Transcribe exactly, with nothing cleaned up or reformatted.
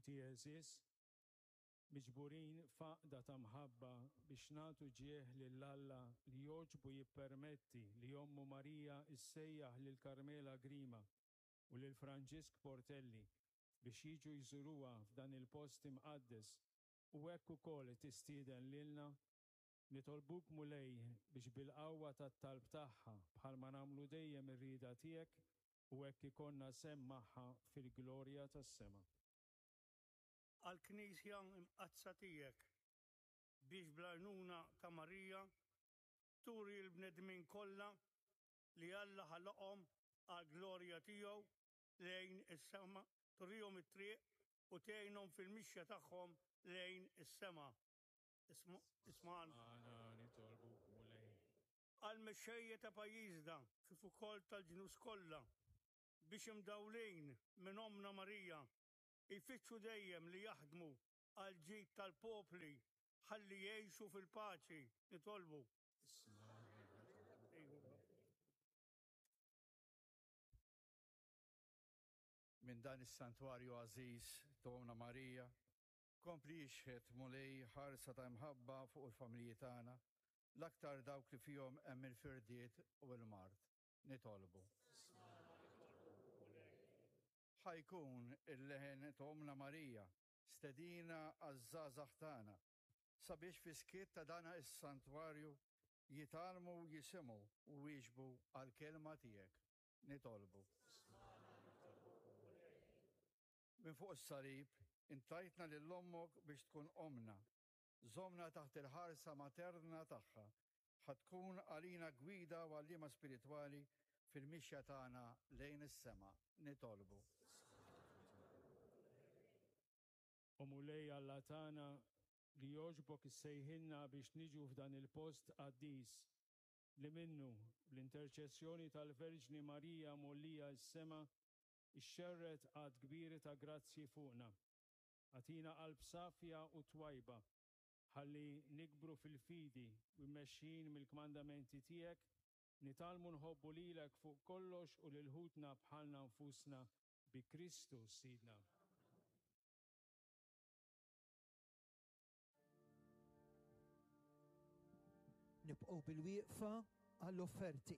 Ħuti għeżież, miġburin f'għaqda ta' mħabba biex nagħtu ġieħ lil Alla li jogħġbu jippermetti li ommu Marija issejjaħ lil Carmela Grima u lil Franġisk Portelli biex jiġu jżuruha f'dan il-post imqaddes u hekk ukoll tistieden lilna, nitolbuk Mulej biex bil-qawwa tat-talb tagħha bħalma nagħmlu dejjem ir-rieda tiegħek u hekk ikollna sehem magħha fil-glorja tas-sema. Għall-Knisja Mqaddsa tiegħek, biex bl-għajnuna ta' Marija turi l-bnedmin kollha li Alla ħalaqhom għall-glorja tiegħu lejn is-sema, turihom it-triq u tgħinhom fil-mixja tagħhom lejn is-sema. Ismagħna. Aħna nitolbuk Mulej. Għall-mexxejja ta' pajjiżna kif ukoll tal-ġnus kollha, biex imdawlin minn Ommna Marija jfittxu dejjem li jaħdmu għall-ġid tal-popli ħalli jgħixu fil-paċi. Nitolbu. Minn dan is-santwarju għażiż ta' Ommna Marija, kompli jixħet Mulej ħarsa ta' imħabba fuq il-familji tagħna, l-aktar dawk li fihom hemm il-firdiet u l-mard. Nitolbu. Ħa jkun il-leħen ta' Ommna Marija stedina għaż-żgħażagħ tagħna sabiex fi skiet ta' dan is-santwarju jitgħallmu jisimgħu u wieġbu għall-kelma tiegħek. Nitolbu. Minn fuq is-salib intajtna lil ommok biex tkun ommna. Żommna taħt il-ħarsa materna tagħha, ħa tkun għalina gwida u għalliema spiritwali fil-mixja tagħna lejn is-sema. Nitolbu. O Mulej Alla tagħna, li jogħġbok issejħilna biex niġu f'dan il-post qaddis, li minnu bl-interċessjoni tal-Verġni Marija mgħollija s-sema ixxerred għadd kbir ta' grazzji fuqna. Agħtina qalb safja u twajba, ħalli nikbru fil-fidi u mmexxin mill-kmandamenti tiegħek, nitgħallmu nħobbu lilek fuq kollox u lil ħutna bħalna nfusna bi Kristu Sidna. Nibqgħu bil-wieqfa għall-offerti.